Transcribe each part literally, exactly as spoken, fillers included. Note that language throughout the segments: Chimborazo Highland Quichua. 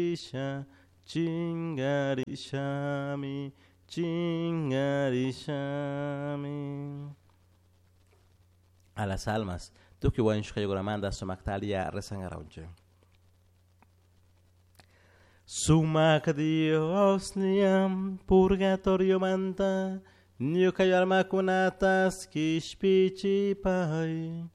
Chingarisha, chingarishami, chingarishami. A las almas, tukuy wañushqaykuramanta sumaqtalia rezangaraunchik. Sumaq Dios niam purgatorio manta ñuka almakunatas kishpichipay.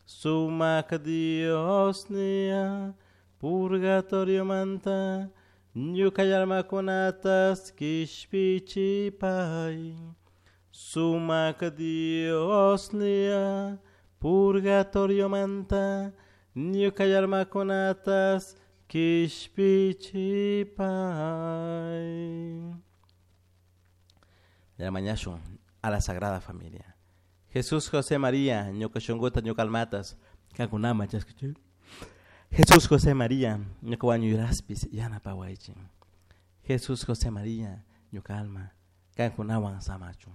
Sumaq Dios nia purgatorio manta ñuka almakunatas kishpichipay. Sumaq Dios nia purgatorio manta ñuka almakunatas kishpichipay. Ya mañashun a la Sagrada Familia. Jesús, José, María, ñuka shunguta, ñuka almatas, kankunama chaskichik. Jesús, José, María, ñuka wañuyraspis yanapawaychik. Jesús, José, María, ñuka alma, kankunawan samachun.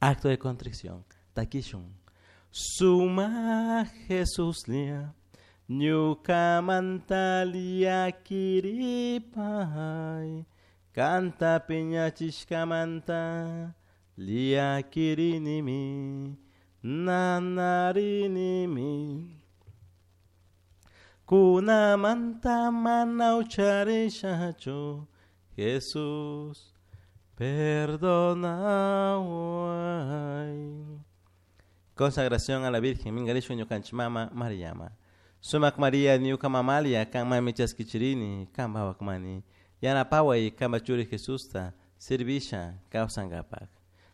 Acto de contrición, takishun. Suma Jesús lia, ñuka mantalia kiripay, kanta piñachishkamanta liakirinimi, nanarinimi. Kunamanta mana ucharishachu, Jesús, perdonaway. Consagración a la Virgen, mingarishu ñukanchik mama Mariama. Sumak María ñuka mamalia, kan mami chaskichirini, kan bawakmani. Yanapaway kamba churi Jesusta, servisha kawsankapak.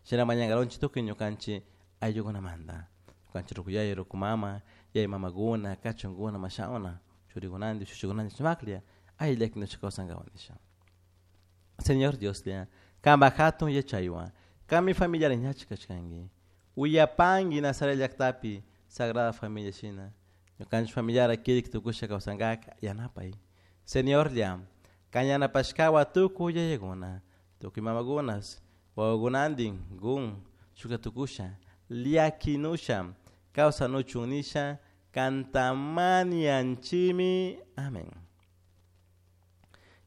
Shina mañangaronchi tukuy ñukanchik ayllukunamanta. Ñukanchik rukuyay, rukumama, yay mamaguna, kachunguna, mashauna, churikunanti, shushikunanti sumaklla, ayllaki kawsankawan nisha. Señor Dios lia, kamba hatun yachaywan, kami familiar ñachi kachkanki. Uyapanki Nazaret llaqtapi, Sagrada Familia shina. Ñukanchik familiar kirik tukusha kawsankak yanapay. Señor lia, kan yanapashkawa tukuy yayakuna, tukuy mamakunas, wawakunantin, gun, shuka tukusha, llakinusha, kawsanuchun nisha, kantamanianchimi. Amén.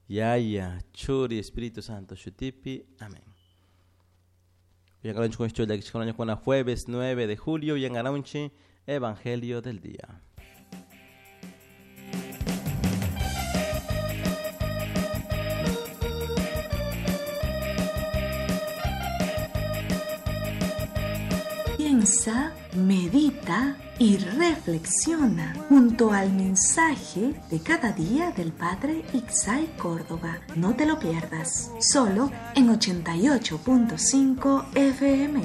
Yaya, Churi, Espíritu Santo, shutipi. Amén. Jueves nueve de julio, Yangaronchi, Evangelio del día. Piensa, medita y reflexiona junto al mensaje de cada día del Padre Ixay Córdoba. No te lo pierdas, solo en ochenta y ocho punto cinco F M.